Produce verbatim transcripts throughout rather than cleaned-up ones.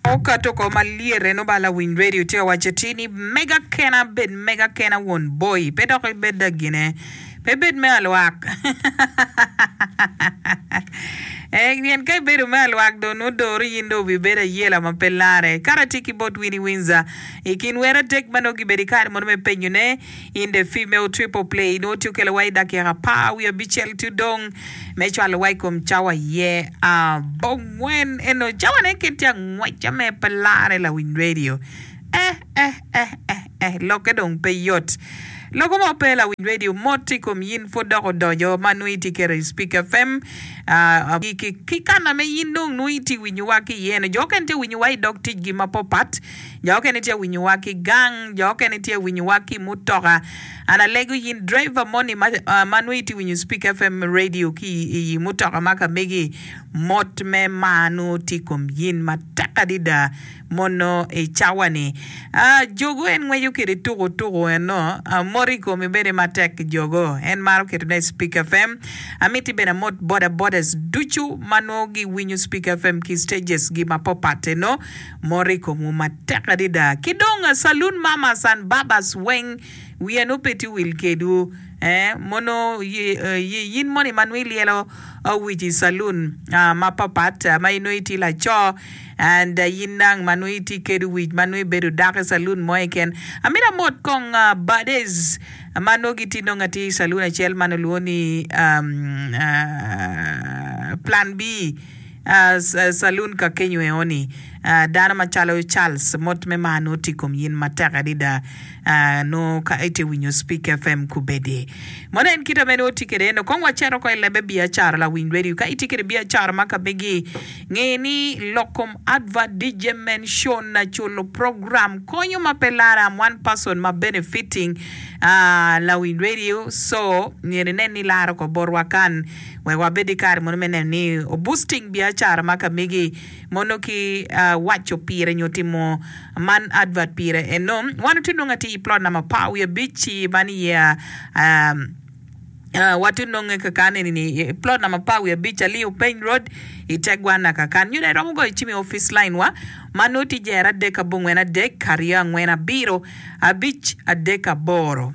Okato oko malyet eno ba lawiny radio tye ka waco atir ni mega kena bed mega kena won boi pe dok ibed da gine pe bed me alwak ee pien ka ibedo me alwak dong nongo doro in dong obibedo ayela ma pe lare. Kara tye ki bot Winnie Windsor i kin wer adek ma nongo gibedo i kare mono me penyone in the female triple play nongo tye okelo wa i dakika apar wiye abicel tudong me cwalo wa i kom cawa ye abongwen eno cawa ne kit tye angweca me pe lare lawiny radio eh eh eh eh eh lokke dong pe yot loko mo pe lawiny radio mot i kom yin pud dok odonyo ma nongo itye keto i Speak F M ah, ki, ki, ki kana me yin dong nongo itye winyo wa ki iye eno jo okene tye winyo wa i dog ticgi mapopat jo okene tye winyo wa ki gang jo okene tye winyo wa ki mutoka. An alego yin driver moni ma, uh, ma nongo itye winyo Speak F M radio ki i, i mutoka ma ka megi mot me mar nongo tye i kom yin matek adada mono i cawa ni. Uh, jogo en ngweco kede tuku tuku eno uh, mot i komi bene matek jogo en maro ketone i Speak F M. Amiti bene amot boda bodas ducu ma nongo giwinyo Speak F M ki stages gi mapopat eno mot i komwu matek adada. Ki dong uh, saloon mamas and babas weng wiya nongo pe tye wil kedwu eh, mono yi, eh, yi, yin moni ma nongo ilyelo uh, wic i saloon uh, mapapat uh, ma inongo itye laco and uh, yin dang ma nongo itye kedo wic ma nongo ibedo dako i saloon mo keken. Amito amot kong uh, bades ma nongo gitye nongo atye i saloon acel ma nongo lwongo ni um, uh, Plan B uh, saloon ka kenyo eoni uh, dano macalo Charles mot me mar nongo tye i kom yin matek adada uh, nongo ka itye winyo Speak F M kubedi mono en kite me nongo tye kede eno kong wacito ko i lebe biacara lawiny radio ka itye kede biacara ma ka megi nge ni lok kom advert D J mention na culo program konyo ma pe lare. I'm one person ma benefiting uh, lawiny radio, so myero inen ni laro ko botwa kan wek wabed i kare mono me neno ni boosting biacara ma ka megi mono ki uh, waco pire nyo timo man advert pire eno wan otye nongo atye i plot namba apar wiye abic man iye um, Uh, watye nonge kakan eni ni plot namba apar wiye abic Aliu Peny Road i Tegwana kakan nyo iromo goyo cim i office line wa ma nongo tye jero adek abongwen adek aryo angwen abiro abic adek aboro.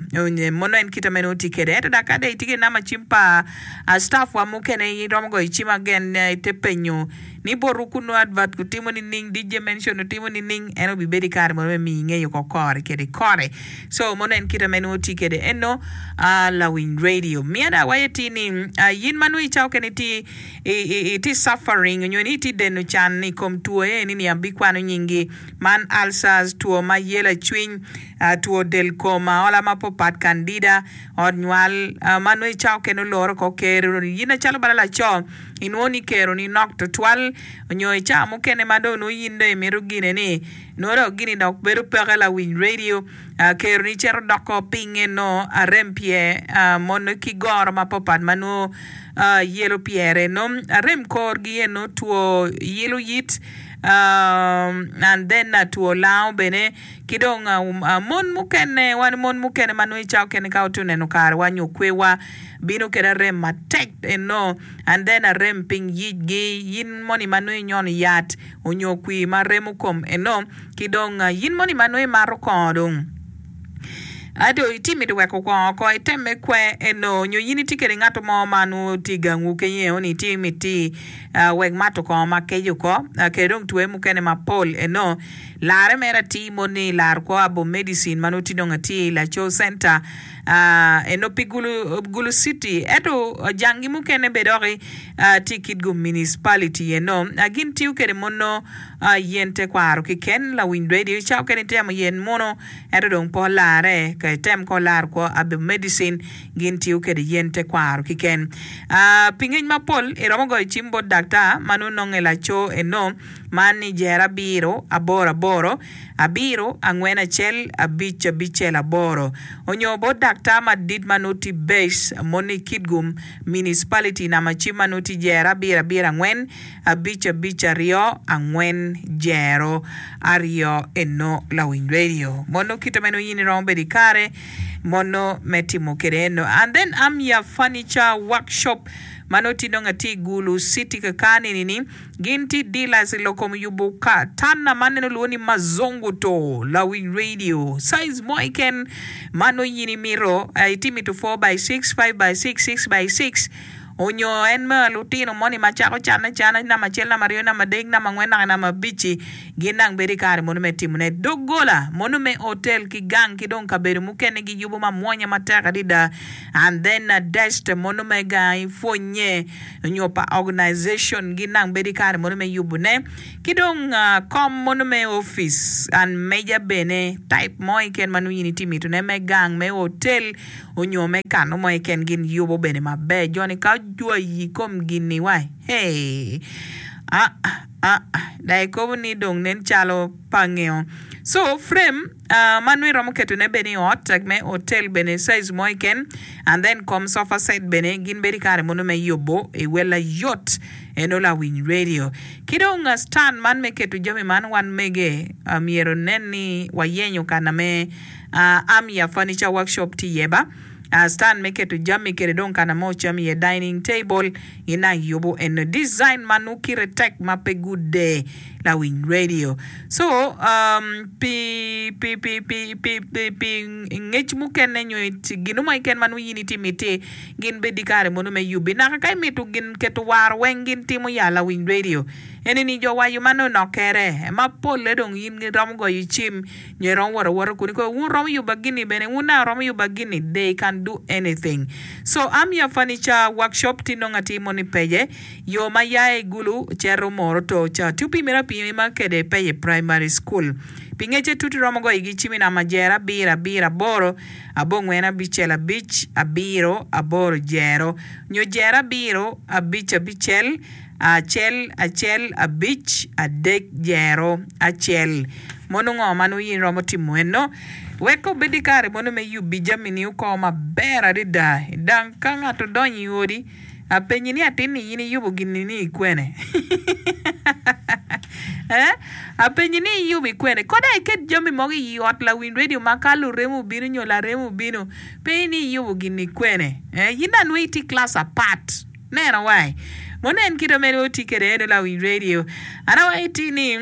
Mono en kite me nongo tye kede ento dok kade itye ki namba cim pa uh, staff wa mukene iromo goyo cim again ite penyo ni botwu kunu advert kutimo nining D J mention otimo nining en obibedo i kare mono me miyi ngeyo ko kore kede kore. So mono en kite me nongo tye kede eno uh, lawiny radio miada waye ti ni uh, yin ma nongo icawo kene ti iti suffering nyo ni iti deno can i kom two eni ni abikwano nyingi man ulcers two ma yelo cwiny uh, two del kom aola mapopat candida ot nywal uh, ma nongo icawo kene oloro ko kero yin acalo bala laco inwongo ni kero ni nok tutwal nyo icawa mukene ma dong nongo yin dong imito gine ni nongo dok gini dok bedo peke lawiny radio uh, kero ni cito doko piny eno arem pye uh, mono ki goro mapapat ma nongo uh, yelo pyere no arem korgi eno two yelo yit um, and then uh, two lango bene ki dong uh, uh, mon mukene wan mon mukene ma nongo icawo kene ka otye neno karewa nyo kwewa bino kede arem matek eno and then arem piny yicgi yin moni ma nongo inyono yat onyo kwir ma remo kom eno ki dong uh, yin moni ma nongo imato kongo dong ento itye mito weko kongo oko itemme kwe eno nyo yin itye kede ngato mo ma nongo tye i gangwu kenyo eno ni tye miti uh, wek mato kongo ma keco oko uh, kede dong two mukene mapol eno lare mere atir moni laro kwo abo medicine ma nongo tye dong atye i Laco Center uh, eno pi Gulu, Gulu City ento uh, jangi mukene be doki uh, tye Kitgum Municipality eno uh, gin tiyo kede mono uh, yen tekwaro keken lawiny radio cawa kene itemo yen mono ento dong po lare ka item ko laro kwo abo medicine gin tiyo kede yen tekwaro keken uh, pi ngec mapol iromo goyo cim bot daktar ma nongo nonge laco eno man ni jero abiro aboro aboro abiro angwen acel abic abicel aboro onyo bot daktar madit ma nongo tye base moni Kitgum Municipality namba cim ma nongo tye jero abiro abiro angwen abic abic aryo angwen jero aryo eno lawiny radio mono kite meno yin iromo bedo i kare mono me timo kede eno. And then Amya Furniture Workshop Ma nongo tye nongo atye i Gulu City kakani ni gin tye dealers i lok kom yubo ka tanna ma neno lwongo ni Mazungu to lawiny radio size mo keken ma nongo in imito itye mito four by six, five by six, six by six onyo en me lutino moni ma cako cane acana namba acel, namba aryo, namba adek, namba angwen naka namba abic-ci gin dang bedo i kare mono me timone. Doggola mono me otel ki gang ki dong kabedo mukene giyubo mamwonya matek adada and then desk mono me gang pwonye nyo pa organization gin dang bedo i kare mono me yubone ki dong kom mono me opic and meja bene type mo keken ma nongo in itye mitone me gang me otel onyo me kano mo keken gin yubo bene maber joni ka ojwayi i kom gini wai hey ah ah dong ikobo ni dong nen calo pa ngeo so frame uh, ma nongo iromo ketone bene i ot me otel bene size mo keken and then kom sofa set bene gin bedo i kare mono me yubo i wel ayot eno lawiny radio ki dong uh, stand man me keto jami man wan mege uh, myero nen ni wayenyo kana me uh, Amia Furniture Workshop tye iye ba uh, stand me keto jami kede dong kana mo cam iye dining table gin yubo eno design ma nongo kite tek ma pe gude lawiny radio so um, pi pi pi pi pi pi pi ngec mukene nyo gino mo keken ma nongo in itye miti gin bed i kare mono me yubi naka ka imito gin keto waro weng gin timo ya lawiny radio eni ni jo wayo man onokere ma polle dong in iromo goyo cim nyo iromo wot awota kuni ko wun romo yuba gini bene wun na romo yuba gini they can do anything so Amia Furniture Workshop tye nongo atir moni peye yo ma ya i Gulu cito Moroto ca tye opimere apima kede peye primary school pi ngece tut iromo goyo gi cim i namba jero abiro abiro aboro abongwen abicel abic abiro aboro jero nyo jero abiro abic abicel acel acel abic adek jero acel mono ngo ma nongo in iromo timo eno wek obed i kare mono me yubi jami-ni oko maber adada dang ka ngato odonyo i odi apenyi ni atin-ni in iyubo gini ni ikwene eh apenyi ni iyubo ikwene koda iket jami mogo i ot lawiny radio ma ka lurem obino nyo larem obino pe ni iyubo gini ikwene eh in dong nongo itye class apart neno wai mono en kite mere oti kede eno lawiny radio an awaco iti ni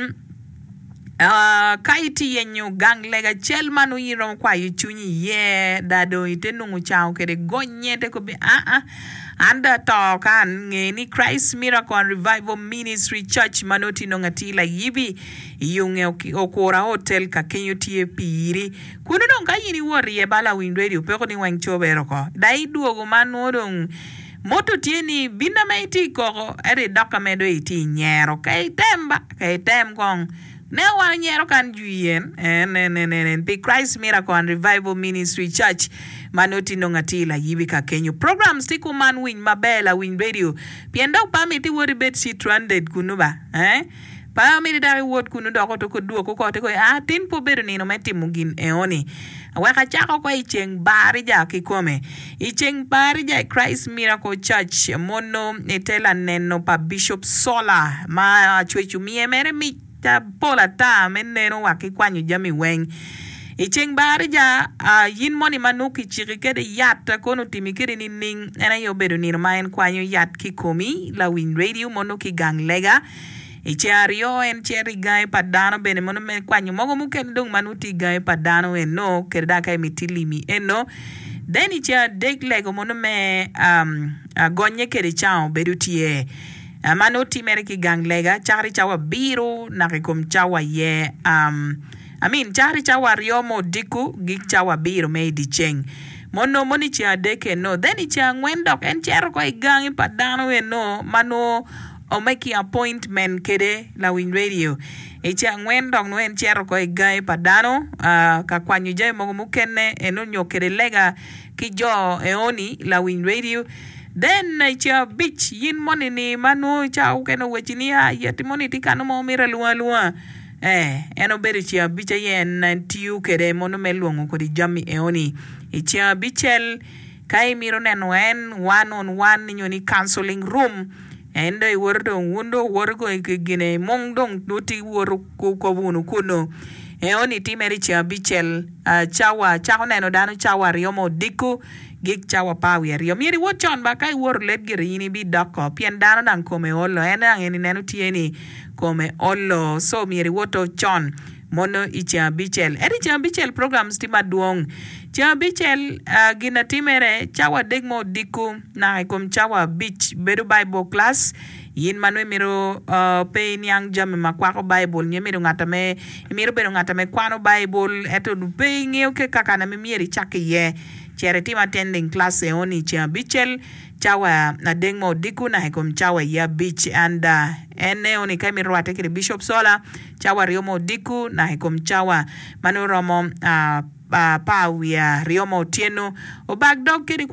Uh, ka itye yenyo gang lega acel ma nongo in iromo kwayo cwinyi iye da dong ite nongo cango kede gonye te kobi aa ah, an da ato kan nge ni Christ Miracle and Revival Ministry Church ma nongo tye nongo atir layibi i yunge okura hotel ka kenyo tye piri kunu dong ka in iwot iye ba lawiny radio peko ni weng cobere oko da idwogo ma nongo dong moto tye ni bino ma itye i koko ento idok ka medo itye i nyero ka item ba ka item kong ne wan onyero kan jwi yen en en en en pi Christ Miracle and Revival Ministry Church ma nongo tye nongo atir layibi ka kenyo programs tye kuman winy maber lawiny radio pien dok pa miti wot ibed stranded kunu ba eh pa miti dok iwot kunu dok oto kodwoko ko te ko ah tin po bedo nino me timo gin eoni wek acako ko i ceng barija kikome i ceng barija i Christ Miracle Church mono ite laneno pa Bishop Sola ma acweco miye mere mic pol ata me neno wa ki kwanyo jami weng i ceng barija uh, yin moni ma nongo kiciki kede yat kono otimi kede nining en aye obedo nino ma en kwanyo yat ki komi lawiny radio mono ki gang lega i ceng aryo en cito i gangi pa dano bene mono me kwanyo mogo mukene dong ma nongo tye i gangi pa dano eno kede dok ka imiti limi eno then i ceng adek lego mono me um, uh, gonye kede cango bedo tye uh, ma nongo timere ki gang lega cakre cawa abiro naka i kom cawa ye um, I mean cakre cawa aryo mo odiko gik cawa abiro me i dyeceng mono mono i ceng adek eno then i ceng angwen dok en cito ko i gangi pa dano eno ma nongo omeki appointment kede lawiny radio i ceng angwen dok nongo en cito ko i gangi pa dano uh, ka kwanyo jami mogo mukene eno nyo kede lega ki jo eoni lawiny radio then i ceng abic yin moni ni ma nongo cawa mukene oweci ni ah yeti moni tye kano mo mito alwonga alwonga eh en obedo ceng abic aye en tiyo kede mono me lwongo kodi jami eoni i ceng abicel ka imito neno en one on one nyo ni counseling room en dong iwoto dong wun dong wuwoto gine mung dong nongo tye woto kobo wunu kunu eoni timere i ceng abicel cawa cako neno dano cawa aryo ma odiko Gik cawa apar wiye aryo. Myero iwot con ba ka iwoto late gire in ibidoko pien dano dang kome olo en dang en ineno tye ni kome olo so myero iwoto con mono i ceng abicel. Ento i ceng abicel programs tye madwong. Ceng abicel gin na timere cawa adek me odiko naka i kom cawa abic bedo Bible class. In ma nongo imito pe iniang jami ma kwako Baibul nyo imito ngat ame imito bedo ngat ame kwano Baibul ento pe ingeyo ki kakana ma myero icak iye, cit itim attending class eoni i ceng abicel cawa adek me odiko naka i kom cawa aye abic and en eoni ka imito rwatte kede Bishop Sola cawa aryo me odiko naka i kom cawa ma nongo romo apar wiye aryo me otyeno obak dog kede.